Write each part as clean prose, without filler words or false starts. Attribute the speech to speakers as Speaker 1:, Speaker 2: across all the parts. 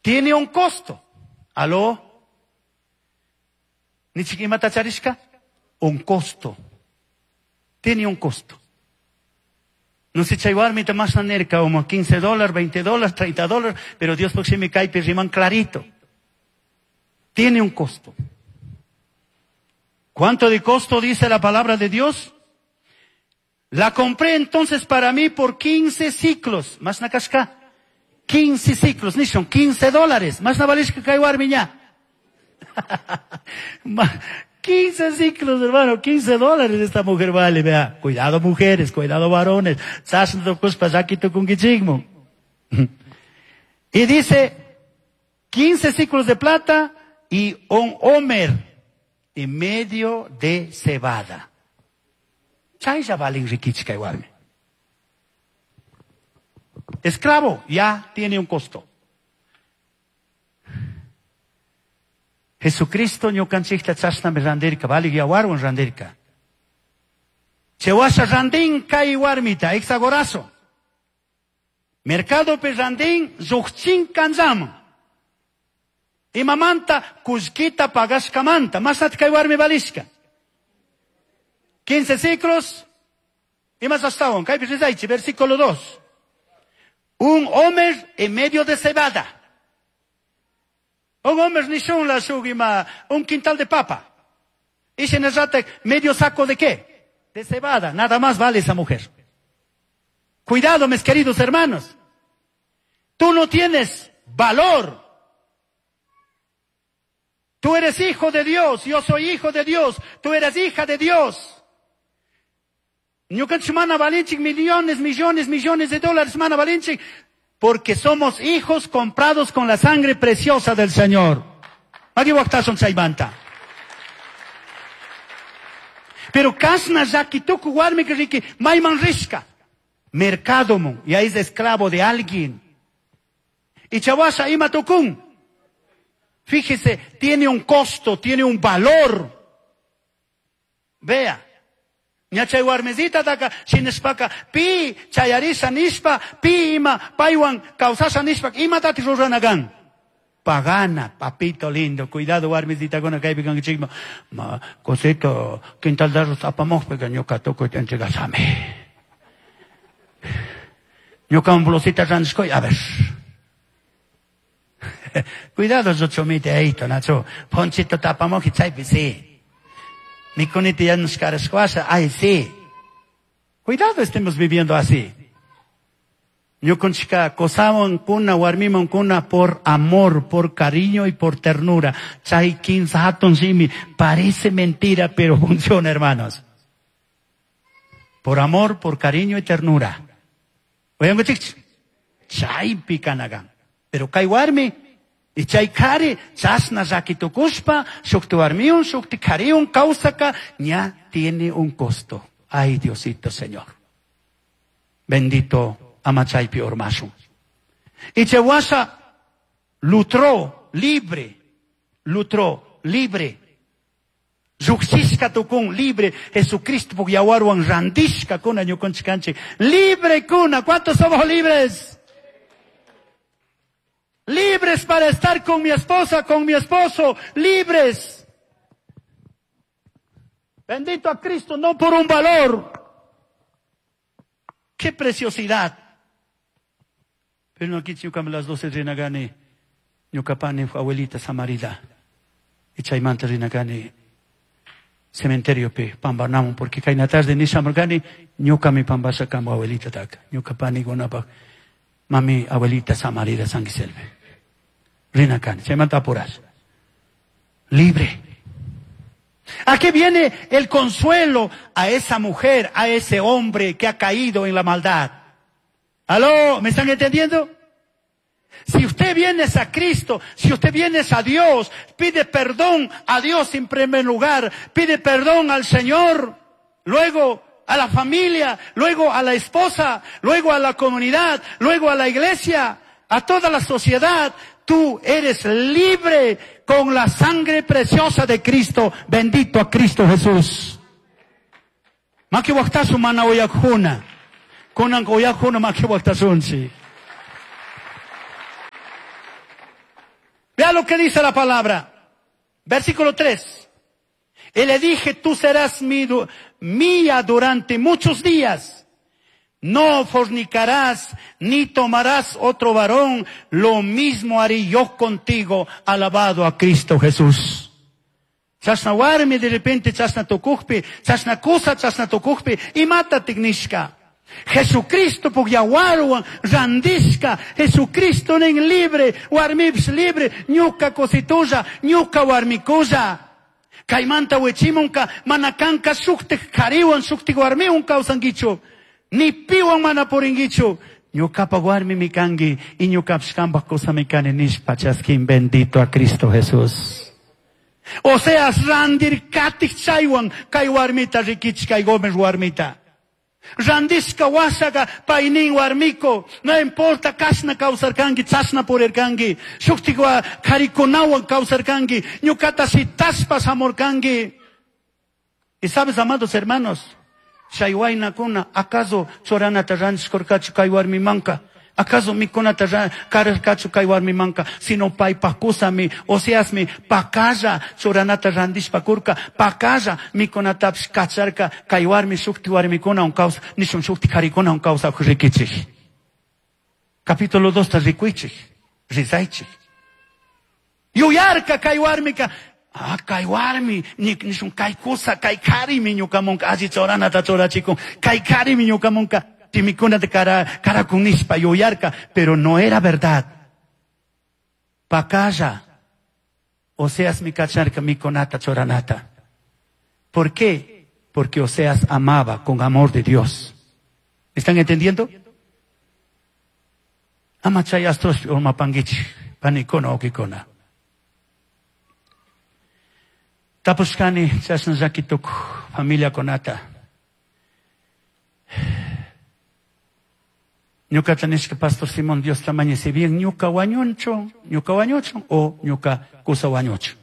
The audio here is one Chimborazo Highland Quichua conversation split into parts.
Speaker 1: Tiene un costo. ¿Aló? Nichik imata charishka? Un costo. Tiene un costo. No sé, chay warmita mashna nirka, como 15 dólares, 20 dólares, 30 dólares, pero Dios me kaypi riman clarito. Tiene un costo. ¿Cuánto de costo dice la palabra de Dios? La compré entonces para mí por 15 siclos. Mashna kashka. 15 siclos, ni son 15 dólares. Mashna valishka kay warmi ña. 15 siclos, hermano, 15 dólares esta mujer vale, vea. Cuidado mujeres, cuidado varones. Y dice, 15 siclos de plata y un homer y medio de cebada. Chaylla valen rikichka warmi. Esclavo ya tiene un costo. Jesucristo ñukanchikta chashnami randirka, valik yawarwan randirka. Chewasha randin kay warmita, exagorazo. Mercado pe randin lluqchin kanllaman. Imamanta kullkita pagashkamanta, mashnata kay warmi valishka. 15 siclos, y más ashtawan, kaypi rizaychi, versículo 2. Un homer en medio de cebada. Un homer nishun la shuk ima, un quintal de papa. Y se medio saco de qué? De cebada. Nada más vale esa mujer. Cuidado, mis queridos hermanos. Tú no tienes valor. Tú eres hijo de Dios. Yo soy hijo de Dios. Tú eres hija de Dios. Ñukanchik mana valinchik millones, millones, millones de dólares mana valinchik, porque somos hijos comprados con la sangre preciosa del Señor. Maki waqtasun chaymanta. Pero kashna llaki tuku warmika riki mayman rishka. Mercado ya es esclavo de alguien. Y chawasha ima tukun. Fíjese, tiene un costo, tiene un valor. Vea. Ña chay warmizita taka shinashpaka pi chayarisha nishpa pi ima paywan kawsasha nishpa imatati rurana kan. Pagana, papito lindo, cuidado warmizitakuna kaypi kankichikman. Ma cosito, quintal de arroz apamojpika ñuka tukuyta entregashami. Ñuka blusita randishkoy, a ver. Cuidado, chomite eito, nacho. Ponchito tapamoji chaypi, sí. Mikunita yanushkarashkwasha, ay, sí. Cuidado, estemos viviendo así. Ñukanchika qosawan kuna, warmiman kuna por amor, por cariño y por ternura. Chay kinsa hatun simi. Parece mentira, pero funciona, hermanos. Por amor, por cariño y ternura. Oyanguchik, chaypi kanagan. Pero kay warmi, y chay kari, chasna llakitukushpa, shukti warmiun, shukti kariun, kawsaka, ña tiene un costo. Ay, Diosito Señor. Bendito ama chaypi urmashun. Y chawasha lutró libre, lutró libre. Lluqshishka tukun libre, Jesucristo puk yawarwan randishka kuna ñukanchik Libre kuna, ¿cuántos somos libres? Libres para estar con mi esposa, con mi esposo, libres. Bendito a Cristo, no por un valor. ¡Qué preciosidad! Pero no aquí ñukami las 12 rinagani, ñukapani abuelita Samarida. Y chaymanta rinagani cementerio pi pambanamun, porque kayna tarde nishamurkani ñukami pambasha kama abuelita taka. Ñukapani gunapaj mami abuelita Samarida Sanguiselve. Rinakani, chaymanta apuras. Libre. ¿A qué viene el consuelo a esa mujer, a ese hombre que ha caído en la maldad? ¿Aló? ¿Me están entendiendo? Si usted viene a Cristo, si usted viene a Dios, pide perdón a Dios en primer lugar, pide perdón al Señor, luego a la familia, luego a la esposa, luego a la comunidad, luego a la iglesia, a toda la sociedad. Tú eres libre con la sangre preciosa de Cristo. Bendito a Cristo Jesús. Maki waqtasu mana uyakjuna. Kunan uyakjuna maki waqtasunchik. Vea lo que dice la palabra. Versículo 3. Y le dije, tú serás mía durante muchos días. No fornicarás ni tomarás otro varón. Lo mismo haré yo contigo. Alabado a Cristo Jesús. Chashna warmi de repente chashna tucujpi, chashna kusa chashna tucujpi, imata tignishka. Jesucristo puk yawarwan randishka, Jesucristo nin libre, warmipish libre, ñuka kusitulla, ñuka warmikulla. Kaymanta wichimunka, mana kanka shuktik kariwan, shuktik warmiwan kawsankichu. Ni piwan mana purinkichu. Ñukapa warmimi kanki y ñukapish kanpak kusami kani nishpa chaskin bendito a Cristo Jesús. O sea, randir katik chaywan kay warmita rikichik kay Gómez warmita. Randishka washaga paynin warmiko, no importa kashna kawsarkanki, chashna purirkanki, shuktik karikunawan kawsarkanki, ñukata shitashpa shamurkanki. Y sabes, amados hermanos, chay waynakuna, acaso churanata randishkurkachu kay warmimanka? Acaso mikunata kararkachu kay warmimanka? Sino paypaj kusami, Oseasmi, pakalla churanata randishpa kurka, pakalla mikunatapish kacharka, kay warmi shukti warmikunawan kawsa, nishun shukti karikunawan kawsakuk rikichik. Capítulo 2 ta rikuychik, rizaychik. Yuyarka kay warmika, ah, kay warmi, nishun kay kusa, kay karimi ñukamunka, alli churanata churachikun, kay karimi ñukamunka, timikuna de karakunishpa yuyarka, pero no era verdad. Pakalla, Oseas mi kacharka mikunata churanata. ¿Por qué? Porque Oseas amaba con amor de Dios. ¿Están entendiendo? Ama chay astrospi urmapankichik, panikuna ukikuna. Tapushkani chashna llakituk familiakunata. Ñukata nishka Pastor Simón, Dios tamaño, si bien ñuka wañunchu, ñuka wañuchun o ñuka kusa wañuchun.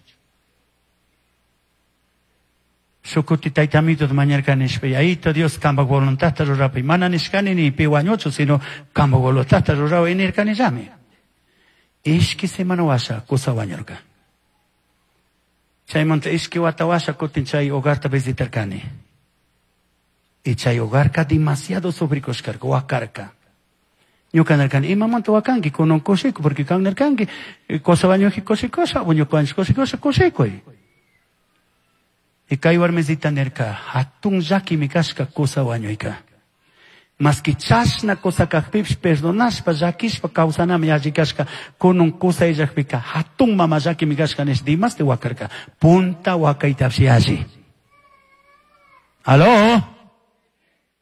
Speaker 1: Shukuti taytamito mañarka nishpa, yayito Dios kamba voluntadta rurapi, mana nishkani ni pi wañuchu, sino kamba voluntadta rurawi nirkani llami. Ishki semana washa kusa wañurka. Chaymanta ishki wata washa kutin chay hogarta visitarkani. Y chay hogarka demasiado sufrikushkarka, wakarka. Ñuka nirkani, imamanta wakanki, kunan kushikuy, porque kan nirkanki, kusa wañuji kushikushpa, ñuka wañush kushikushpa, kushikuy. Y kay warmisita nirka, hatun llakimi kashka kusa wañuyka. Maski chashna kusa kajpipish perdonashpa, llakishpa kawsanami alli kashka, kunun kusa illakpika, hatun mama llakimi kashka nish dimasti wakarka, punta wakaytapish alli. ¿Aló?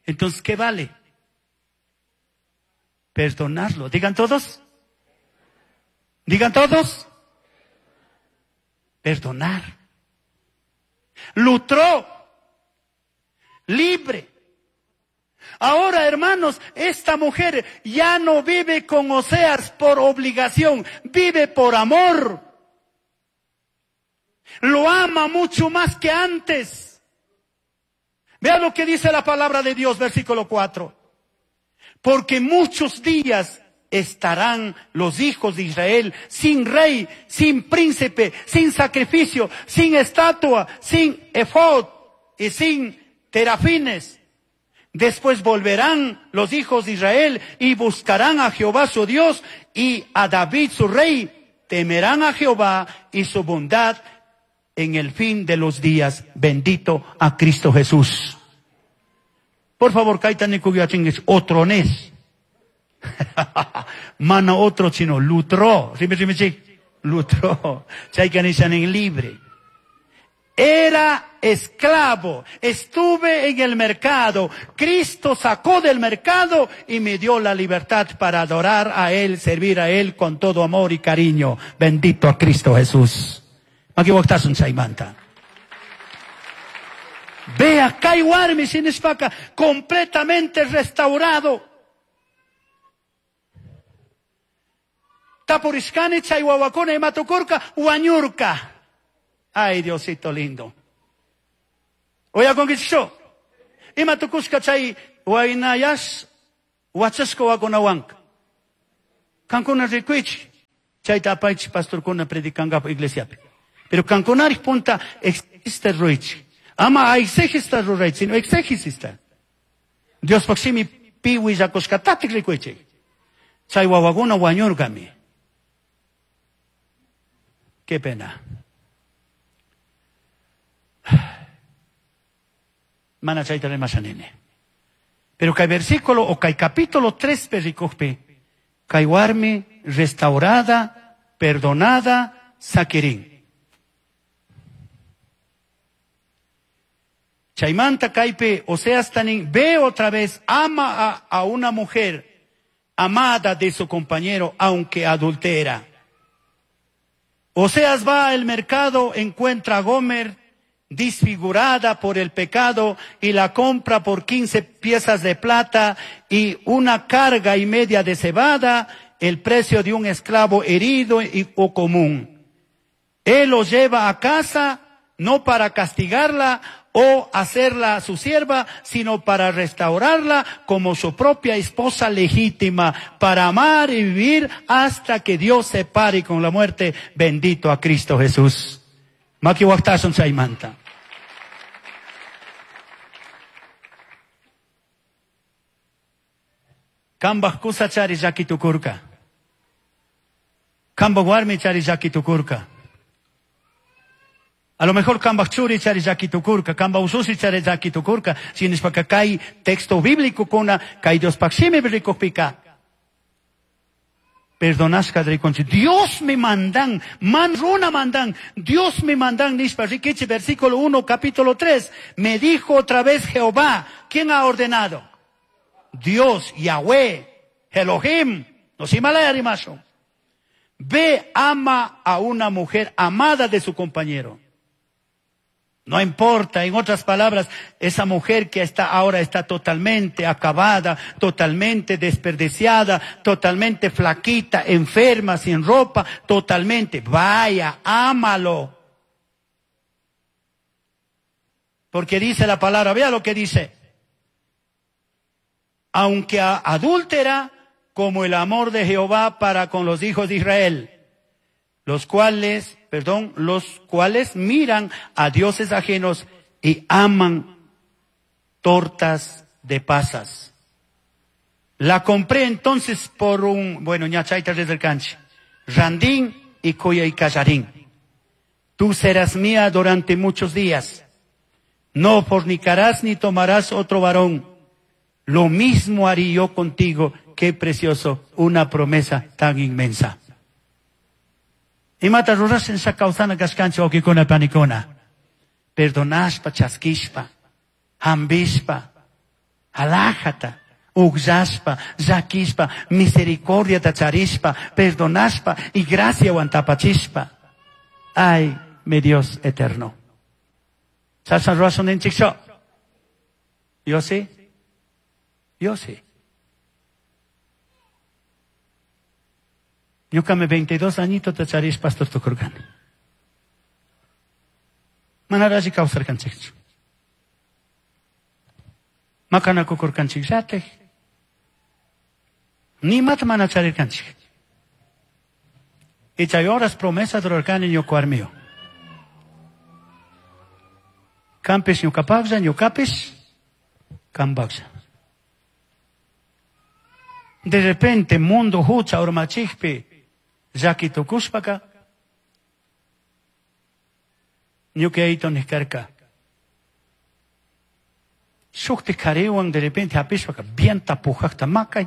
Speaker 1: Entonces, ¿qué vale? Perdonarlo. Digan todos. Digan todos. Perdonar. Lutró. Libre. Ahora, hermanos, esta mujer ya no vive con Oseas por obligación, vive por amor. Lo ama mucho más que antes. Vean lo que dice la palabra de Dios, versículo 4. Porque muchos días estarán los hijos de Israel sin rey, sin príncipe, sin sacrificio, sin estatua, sin efod y sin terafines. Después volverán los hijos de Israel y buscarán a Jehová su Dios y a David su rey. Temerán a Jehová y su bondad en el fin de los días. Bendito a Cristo Jesús. Por favor, kaita ni kuya chingues, otro nes. Mana otro chino, lutro. Rime, rime, chi. Lutro. Chayka nishan en libre. Era esclavo. Estuve en el mercado. Cristo sacó del mercado y me dio la libertad para adorar a Él, servir a Él con todo amor y cariño. Bendito a Cristo Jesús. Makiwaktasun chaymanta. Vea, kay warmi sinishpaka, completamente restaurado. Tapurishkani chay wawakuna imatukurka, wañurka. Ay, Diosito lindo. Oya konkichsho. Imatukushka chay waynayash, wachashka wakunawanka. Kankuna rikuichi. Chayta apaychik pastorkuna predicangapu iglesiapi. Pero kankunarij punta exégesta ruraychik. Ama exégesta ruraychik, sino exégesista. Diospaj shimi pi willakushkatatik rikuychik. Chay wawakuna wañurkami. Qué pena. Mana chayta rimasha nini. Pero kay versículo o kay capítulo 3 pi rikukpi, kay warmi restaurada, perdonada, sakirin. Chaymanta kaypi Oseas tanin, ve otra vez, ama a una mujer amada de su compañero, aunque adultera. Oseas va al mercado, encuentra a Gomer disfigurada por el pecado y la compra por 15 piezas de plata y una carga y media de cebada, el precio de un esclavo herido o común. Él lo lleva a casa no para castigarla o hacerla su sierva, sino para restaurarla como su propia esposa legítima, para amar y vivir hasta que Dios se pare con la muerte. Bendito a Cristo Jesús. Maki waqtasun chaymanta. Kambaj kusa chari llaki tukurka. Kambaj warmi chari llaki tukurka. A lo mejor kambaj churi chari llaki tukurka, kambaj ususi chari llaki tukurka. Shinashpaka kay texto bíblico kuna, kay Diospaj shimi rikukpika. Perdonashka rikunchik. Dios me mandan, man runa mandan, Dios me mandan, nishpa rikichi, versículo 1, capítulo 3. Me dijo otra vez Jehová, ¿quién ha ordenado? Dios, Yahweh, Elohim, no Himalaya rimasho. Ve, ama a una mujer amada de su compañero. No importa, en otras palabras, esa mujer que está ahora está totalmente acabada, totalmente desperdiciada, totalmente flaquita, enferma, sin ropa, totalmente. Vaya, ámalo. Porque dice la palabra, vea lo que dice. Aunque adúltera, como el amor de Jehová para con los hijos de Israel, los cuales miran a dioses ajenos y aman tortas de pasas. La compré entonces por un, bueno, ñachaita desde el canche, Randín y Coya y Callarín. Tú serás mía durante muchos días. No fornicarás ni tomarás otro varón. Lo mismo haré yo contigo. Qué precioso, una promesa tan inmensa. Imata rurashin shakausana kashkanchik wawqikuna panikuna. Perdonashpa, chaskishpa, hambishpa, alajata, ugllashpa, llakishpa, misericordiata charishpa, perdonashpa y graciawan tapachishpa. Ay, mi Dios eterno. Chashna rurashun ninchikchu. Yo sí. Yo sí. Ñuqami 22 añito tacharish pastor tukurqani. Manara alli kawsarqanchikchu. Maqanakukurqanchikllatik. Nimata mana charirqanchik. Y chay horas promesa rurarqani ñuqa warmiwan. Qampis ñuqapaqlla, ñuqapis qampaqlla. De repente mundo hucha urmachikpi llaki tukushpaka ñuka nishkarka. Shukti kariwan de repente hapishpaka bien tapujaqta makay,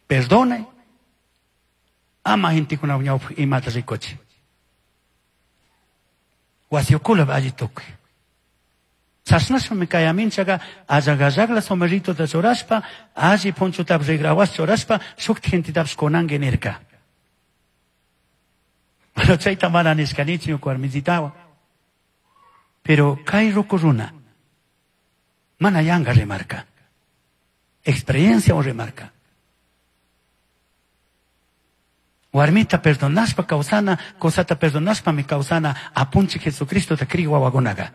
Speaker 1: perdonay, ama gentekuna ñawpaq imata rikuchi. Wasiukula alli tukuy. Chashnashpami kay aminchaka allaqallaqla somerritota churashpa, alli punchutapish rigrawas churashpa, shukti gentetapish kunanki nirka. Pero chayta mana nishkanichu ñuka warmisitawan. Pero kay ruku runa mana yanka rimarka. Experiencia o rimarka. Warmita perdonashpa kawsana, cosata perdonashpami kawsana, apunchik Jesucristota kriy wawakunaqa.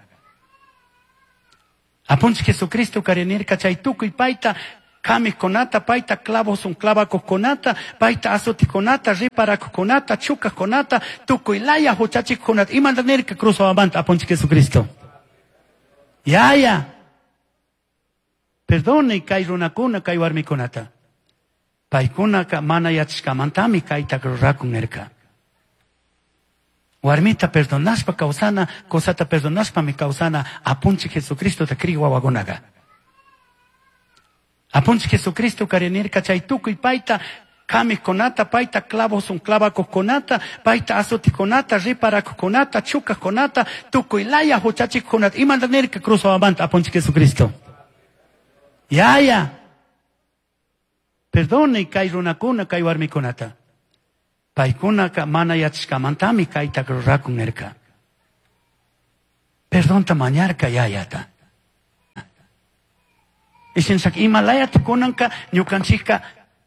Speaker 1: Apunchik Jesucristo karinirka chay tukuy payta Kamijkunata, payta clavos clavakuqkunata, payta azutiqkunata, riparakuqkunata, chukaqkunata, tukuy laya huchachikuqkunata. Imata nirka cruz hawamanta Apunchik Jesucristo? Yaya. Perdone kay runakuna, kay warmikunata. Paykunaka mana yachashkamantami kayta rurakun nirka. Warmita perdonashpa kawsana, cosata perdonashpami kawsana Apunchik Jesucristo ta kriy wawakunaqa. Apunchik Jesucristo karinirka chay tukuy payta kamijkunata, payta clavos clavakuqkunata, payta azutiqkunata, riparakuqkunata, chukaqkunata, tukuy laya huchachikuqkunata. Imata nirka cruz hawamanta Apunchik Jesucristo? Yaya. Perdone kay runakuna, kay warmikunata. Paykunaka mana yachashkamantami kayta rurakun nirka. Perdonta mañarka yayata. Ishinshak imalayata kunanka ñukanchikka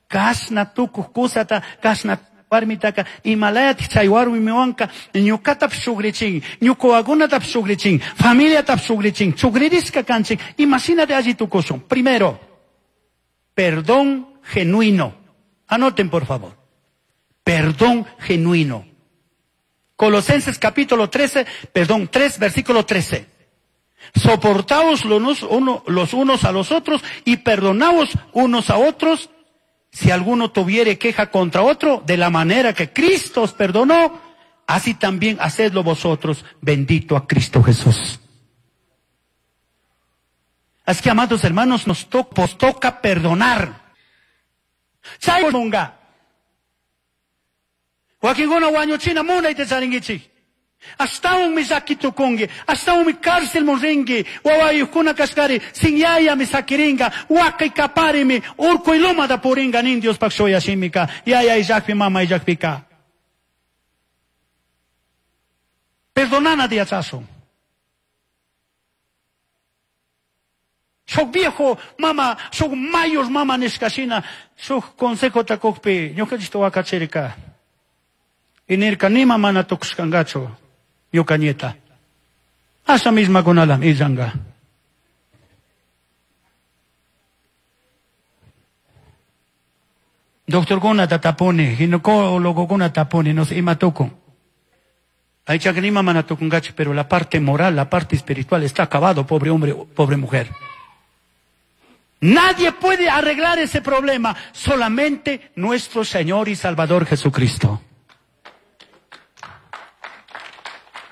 Speaker 1: kashna tukuq kusata, kashna warmitaka imalayata chay warmiwanka ñukatapish shugrichin, ñuka wawakunatapish shugrichin, familiatapish shugrichin, chugririshka kanchik, imashinata alli tukushun. Primero, perdón genuino. Anoten, por favor. Perdón genuino. Colosenses capítulo 13, perdón, 3, versículo 13. Soportaos los unos a los otros y perdonaos unos a otros si alguno tuviere queja contra otro, de la manera que Cristo os perdonó, así también hacedlo vosotros. Bendito a Cristo Jesús. Así que, amados hermanos, nos toca perdonar. Chay munga. Wakinkuna wañuchina munayta charinkichik. Ashtawanmi llaki tukunki, ashtawanmi cárcelman rinki, wawayuqkuna kashkari, sin yayami sakirinka, wakay kaparimi, urku ilumata purinka nin Diospaq shuyashimika, yaya illakpi, mama illakpika. Perdonana yachashun. Shuk viejo mama, shuk mayor mama nishkashina, shuk consejota kukpi, ñukanchikta wakachirka. Y nirka nima mana tukushkankachu. Ñuka nieta. Asa misma kunalam illanka. Doctorkunata tapuni, ginecólogokunata tapuni, no sé, ima tukun. Aychaka nima mana tukunkachu, pero la parte moral, la parte espiritual está acabado, pobre hombre, pobre mujer. Nadie puede arreglar ese problema, solamente nuestro Señor y Salvador Jesucristo.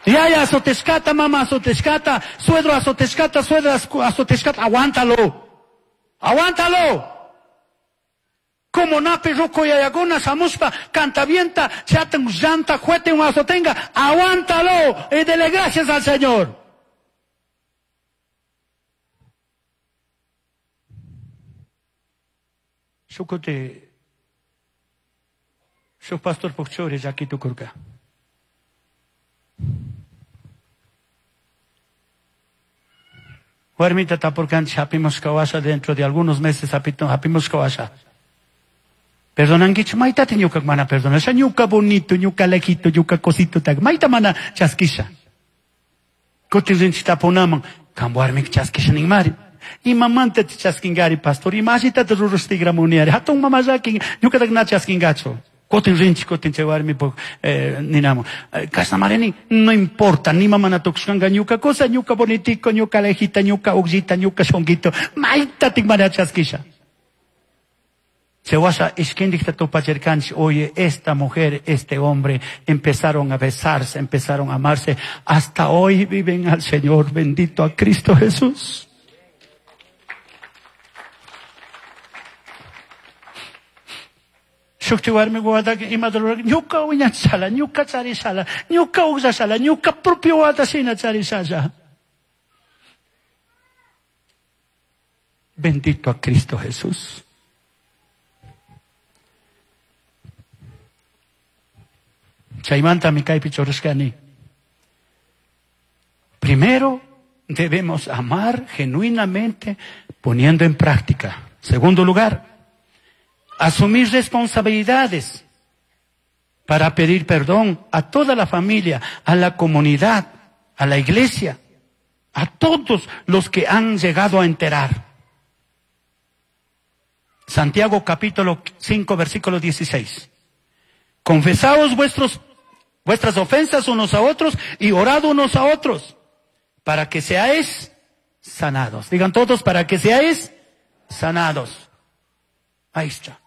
Speaker 1: Yaya azoteshkata, mama azoteshkata, suegro azoteshkata, suegra azoteshkata, aguántalo. Aguántalo. Como nape ruco yayaguna, samuspa, cantavienta, chatan, llanta, juete, un azotenga, aguántalo y dele gracias al Señor. Shukote, shuk pastor pokchore, yakitu kurka. Warmita tapurkanchik hapimos kawasha dentro de algunos meses hapimos kawasha. Perdonankichu maytata ñuka mana perdonasha, ñuka bonito, ñuka lejito, ñuka cosito tak mayta mana chaskisha. Kutin rinchik tapunaman, kan warmika chaskisha ninmari. Imamanta chaskinkari pastor, imashitata rurashtigramuniari, hatun mama llakin, ñukatak na chaskinkachu. Kutin rinchik, kutin chay warmipuk ninamun. Kashnamari nin, no importa, nima mana tukushkanka ñuka cosa, ñuka bonitico, ñuka lejita, ñuka uqllita, ñuka shunquito, maytatik mana chaskisha. Chewasha ishkindikta tupachirkanchik, oye, esta mujer, este hombre, empezaron a besarse, empezaron a amarse, hasta hoy viven al Señor, bendito a Cristo Jesús. Shukti warmi wawataka imata rurarka, ñuka wiñachishala, ñuka charishala, ñuka uqllashala, ñuka propio wawata shina charishalla. Bendito a Cristo Jesús. Chaymantami kaypi churashkani. Primero debemos amar genuinamente poniendo en práctica. Segundo lugar, asumir responsabilidades para pedir perdón a toda la familia, a la comunidad, a la iglesia, a todos los que han llegado a enterar. Santiago capítulo 5, versículo 16. Confesaos vuestras ofensas unos a otros y orad unos a otros para que seáis sanados. Digan todos, para que seáis sanados. Ahí está.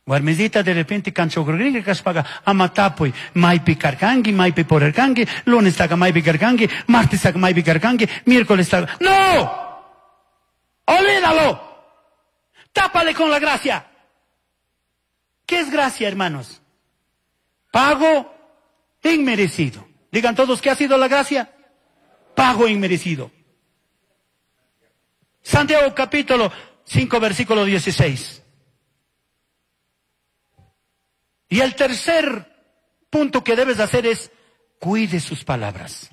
Speaker 1: Warmisita de repente kanchogringa kashpaga ama tapuy maypi karkanki, maypi purirkanki, lunes taga maypi karkanki, martes taga maypi karkanki, miércoles taga... ¡No! ¡Olvídalo! Tápale con la gracia. ¿Qué es gracia, hermanos? Pago inmerecido. Digan todos, ¿qué ha sido la gracia? Pago inmerecido. Santiago capítulo 5, versículo 16. Y el tercer punto que debes hacer es, cuide sus palabras.